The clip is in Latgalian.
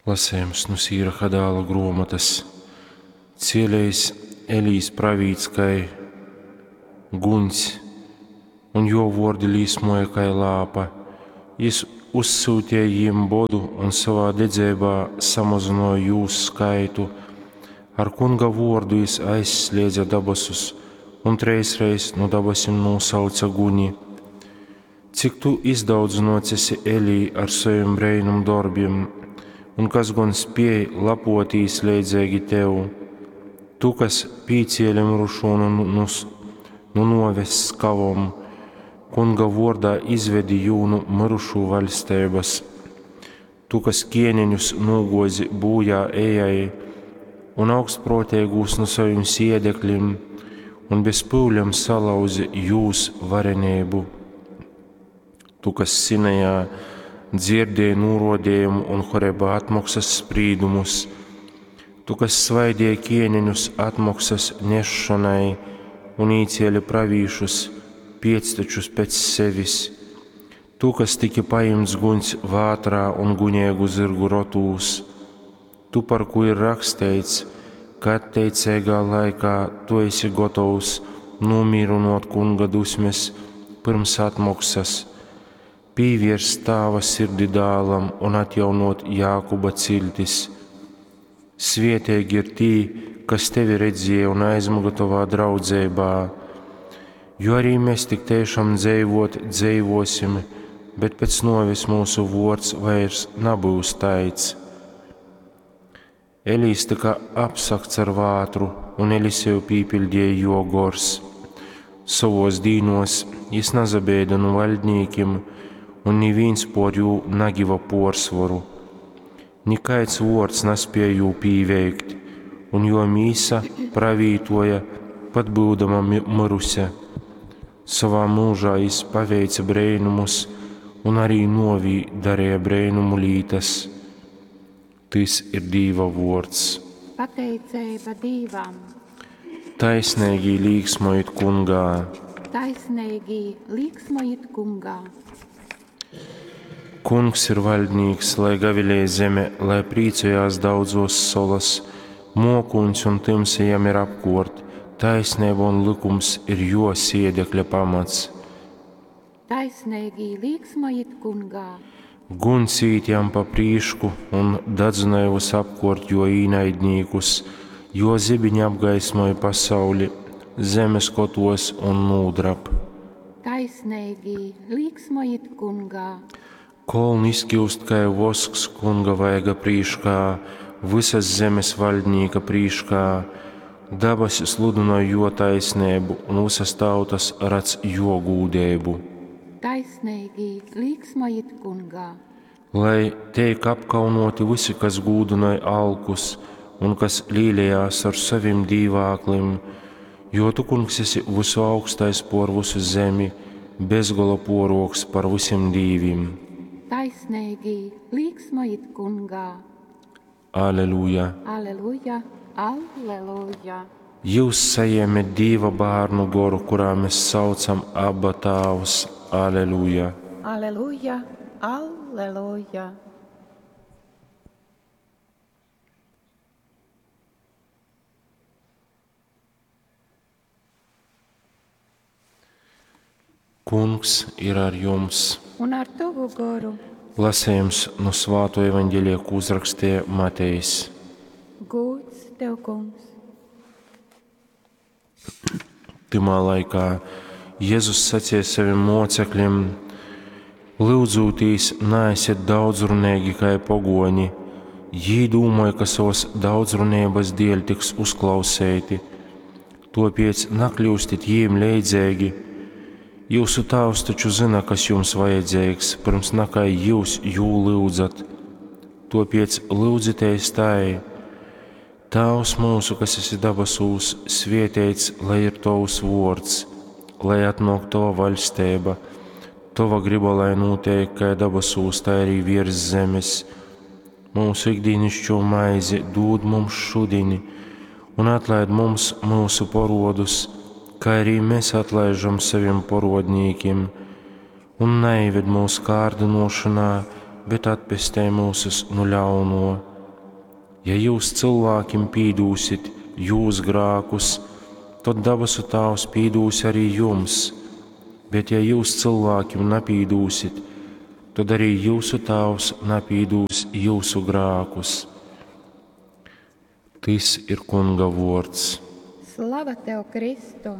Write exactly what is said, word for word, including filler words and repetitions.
Lasējums nu Sīraha dāla gruomotas. Cielējs Elīs pravīts kai guņs, un jo vuordi līsmoja kai lāpa. Jis uzsūtīja jim bodu un savā dedzeibā samazynuoja jūs skaitu. Ar kunga vuordu jis aizsliedza dabasus un treisreiz nu dabasim nūsauca guni. Cik tu izdaudzynuots esi, Elī, ar sovim breinum dorbim, un kas gon spiej lapotīs leidzeigi tev? Tu, kas pīcieli myrušū nu, nu, nu nuoves skavom, kunga vuordā izvedi jū nu myrušū vaļsteibas. Tu, kas kieneņus nūguozi būjā ejai un augstpruoteigūs nu sovim siedeklim, un bez pyulem salauzi jūs vareneibu. Tu, kas Sinajā dzirdēji nūruodejumu un Horebā atmoksas sprīdumus, tu, kas svaidīji kieneņus atmoksas nesšanai un īcieli pravīšus, piectečus pēc sevis, tu, kas tiki paimts guņs vātrā un guņēgu zirgu rotūs, tu, par ko ir raksteits, ka atteicīgā laikā tu esi gotovs nomīrinot kunga dusmes pirms atmoksas, pīvērst tāva sirdi dālam un atjaunot Jākuba ciltis. Svietīgi ir tī, kas tevi redzēja un aizmuga tovā draudzeibā, jo arī mēs tik tiešām dzīvot dzīvosim, bet pēc novis mūsu vords vairs nebūs taids. Elīs tika apsakts ar vātru, un Eliseju pīpildīja jo gors. Savos dīnos jis nazabēda nu vaļdnīkim, un nivīns por jū nagiva porsvoru. Nikaids vords naspēja jū pīveikt, un jo mīsa pravītoja, pat būdama miruse. Savā mūžā jis paveica breinumus, un arī novī darīja breinumu lītas. Tys ir Dīva vords. Pateiceiba Dīvam. Taisneigī līksmojit kungā. Taisneigī līksmojit kungā. Kungs ir valdnīks, lai gavilē zeme, lai prīcojās daudzos solas, mokūņs un timsa jam ir apkort, taisnība un likums ir jo siedekļa pamats. Taisneigī līksmojit kungā. Guns īt jam pa prīšku un dadzināja visapkort jo īnaidnīkus, jo zibiņi apgaismoja pasauli, zemes kotos un nūdrab. Taisneigī līksmojit kungā. Kolni izkiust kai vosks kunga vaiga prīškā, visas zemes valdnīka prīškā. Dabasi sludināja jo taisnību, un visas tautas redz jo gūdību. Taisneigī līksmojit kungā. Lai teik apkaunoti visi, kas gūdināja alkus un kas līlējās ar savim dīvāklim, jo tu, kungs, esi visu augstais por visu zemi, bezgola poroks par visiem dīvim. Taisneigī līksmojit kungā. Aleluja! Aleluja, aleluja. Jūs saņēmat Dieva bērnu goru, kurā mēs saucam Abba Tāvs. Aleluja! Aleluja, aleluja. Kungs ir ar jums. Un ar tavu goru. Lasējums no Svāto evaņģēlija, ko uzrakstīja Matejs. Gūds tev, kungs. Timā laikā Jēzus sacīja saviem mocekļiem: Lyudzūtīs, neesiet daudzrunīgi kai pogoņi. Jī domāja, ka savas daudzrunības dēļ tiks uzklausēti. Topiec nakļūstit jīm leidzīgi. Jūsu tēvs taču zina, kas jums vajadzīgs, pirms nakai jūs jū lyudzat. Topiec lyudzities tai. Tēvs mūsu, kas esi dabasūs, svietēts, lai ir tavs vords, lai atnāk tava vaļstība, tava griba, lai notiek kā dabasūs, tā arī virs zemes. Mūsu ikdienišķo maizi dod mums šodien, un atlaid mums mūsu porodus, kā arī mēs atlaižam saviem porodnīkiem, un neived mūsu kārdinošanā, bet atpestē mūsus no ļauno. Ja jyus cylvākim pīdūsit jūs grākus, tod dabasu Tāvs pīdūs ari jums, bet ja jyus cylvākim napīdūsit, tod ari jyusu Tāvs napīdūs jyusu grākus. Tys ir Kunga vōrds. Slava tev, Kristu!